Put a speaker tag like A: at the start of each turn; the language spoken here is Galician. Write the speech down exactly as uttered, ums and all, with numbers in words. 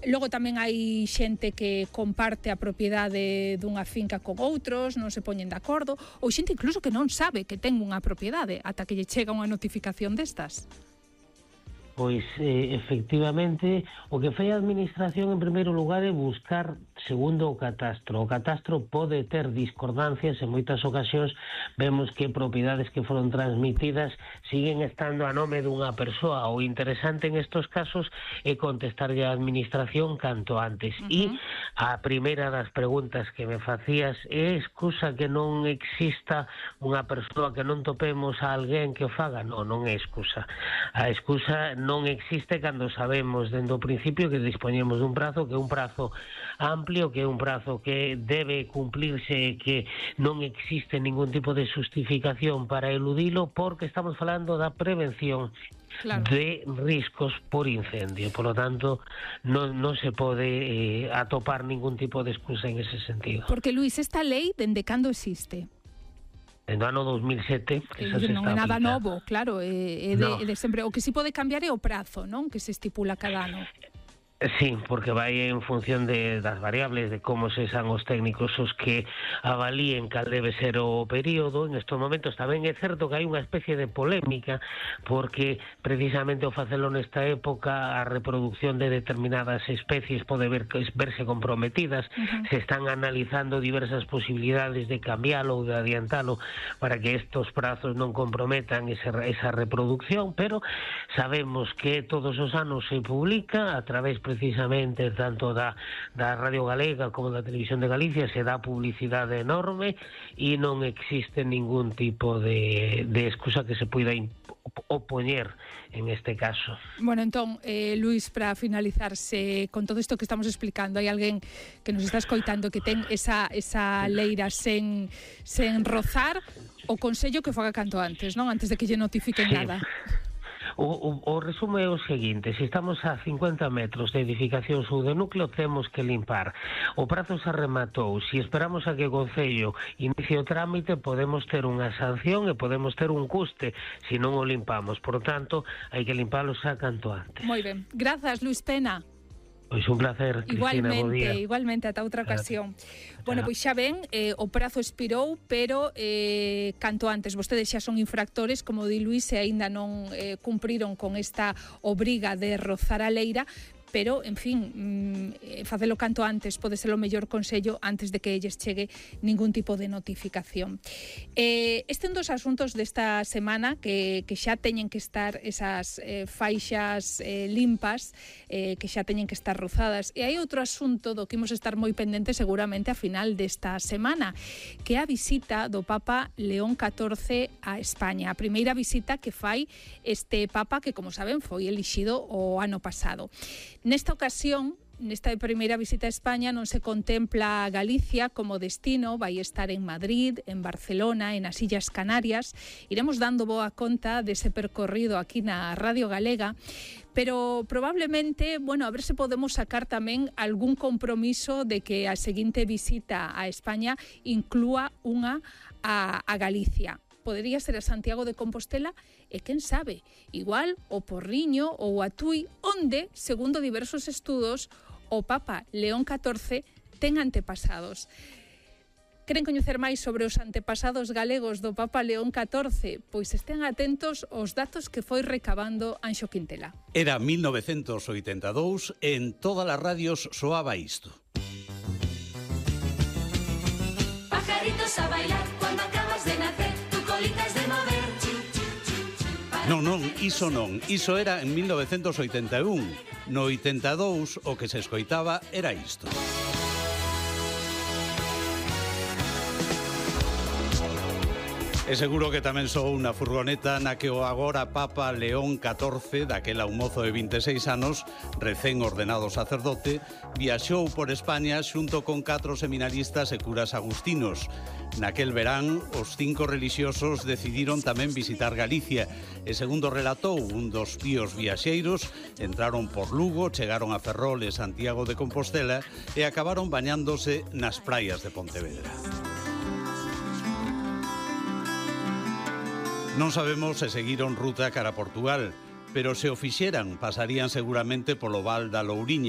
A: Logo tamén hai xente que comparte a propiedade dunha finca con outros, non se poñen de acordo, ou xente incluso que non sabe que ten unha propiedade ata que lle chega unha notificación destas.
B: Pois, eh, efectivamente, o que fai a Administración en primeiro lugar é buscar segundo o catastro. O catastro pode ter discordancias, en moitas ocasións vemos que propiedades que foron transmitidas siguen estando a nome dunha persoa. O interesante en estos casos é contestarlle á Administración canto antes. Uh-huh. E a primeira das preguntas que me facías é excusa que non exista unha persoa, que non topemos a alguén que o faga? Non, non é excusa. A excusa non existe cando sabemos dende o principio que dispoñemos dun prazo, que é un prazo amplio, que é un prazo que debe cumplirse, que non existe ningún tipo de justificación para eludilo, porque estamos falando da prevención, claro, de riscos por incendio. Por lo tanto, non, non se pode eh, atopar ningún tipo de excusa en ese sentido.
A: Porque, Luís, esta lei, dende cando existe?
B: En o ano dos mil sete, que xa se
A: non
B: está
A: é nada
B: aplicando.
A: novo, claro, é, é, de,
B: no.
A: é de sempre. O que si pode cambiar é o prazo, non? Que se estipula cada ano.
B: Sí, porque vai en función de, das variables, de como se san os técnicos os que avalíen cal debe ser o período. En estes momentos tamén é certo que hai unha especie de polémica, porque precisamente o facelo nesta época a reproducción de determinadas especies pode ver, verse comprometidas. Uh-huh. Se están analizando diversas posibilidades de cambialo ou de adiantalo para que estos prazos non comprometan ese, esa reproducción, pero sabemos que todos os anos se publica a través precisamente tanto da, da Radio Galega como da Televisión de Galicia, se dá publicidade enorme e non existe ningún tipo de, de excusa que se puida opoñer en este caso.
A: Bueno, entón, eh, Luís, para finalizarse con todo isto que estamos explicando, hai alguén que nos está escoitando que ten esa, esa leira sen, sen rozar, o consello que faga canto antes, non? Antes de que lle notifiquen, sí, nada.
B: O, o, o resumo é o seguinte: se estamos a cincuenta metros de edificación ou de núcleo, temos que limpar. O prazo se rematou. Se esperamos a que o Concello inicie o trámite, podemos ter unha sanción e podemos ter un custe se non o limpamos. Por tanto, hai que limpalo xa canto antes.
A: Moi ben. Grazas, Luís Pena.
B: Pois un placer, Cristina, bo día.
A: Igualmente, igualmente, ata outra ocasión. Bueno, pois xa ven, eh, o prazo expirou, pero eh, canto antes. Vostedes xa son infractores, como di Luís, e aínda non eh, cumpriron con esta obriga de rozar a leira, pero, en fin, mmm, facelo canto antes pode ser o mellor consello antes de que lles chegue ningún tipo de notificación. Eh, este é un dos asuntos desta semana que, que xa teñen que estar esas eh, faixas eh, limpas, eh, que xa teñen que estar rozadas. E hai outro asunto do que imos estar moi pendentes seguramente a final desta semana, que é a visita do Papa León catorce a España. A primeira visita que fai este Papa que, como saben, foi elixido o ano pasado. Nesta ocasión, nesta primeira visita a España, non se contempla Galicia como destino, vai estar en Madrid, en Barcelona, en as Illas Canarias. Iremos dando boa conta dese percorrido aquí na Radio Galega, pero probablemente, bueno, a ver se podemos sacar tamén algún compromiso de que a seguinte visita a España inclúa unha a, a Galicia. Podería ser a Santiago de Compostela e, quen sabe, igual o Porriño ou a Tui, onde, segundo diversos estudos, o Papa León catorce ten antepasados. Queren coñecer máis sobre os antepasados galegos do Papa León catorce? Pois estén atentos aos datos que foi recabando Anxo Quintela.
C: Era mil novecentos oitenta e dous e en todas as radios soaba isto. Pajaritos a bailar cuando acabas de nacer. Non, non, iso non, iso era en mil novecentos oitenta e un. No oitenta e dous o que se escoitaba era isto. E seguro que tamén sou unha furgoneta na que o agora Papa León catorce, daquela un mozo de vinte e seis anos, recén ordenado sacerdote, viaxou por España xunto con catro seminaristas e curas agustinos. Naquel verán, os cinco relixiosos decidiron tamén visitar Galicia e, segundo relatou un dos píos viaxeiros, entraron por Lugo, chegaron a Ferrol e Santiago de Compostela e acabaron bañándose nas praias de Pontevedra. Non sabemos se seguiron ruta cara a Portugal, pero se o fixeran pasarían seguramente polo Val da Louriña.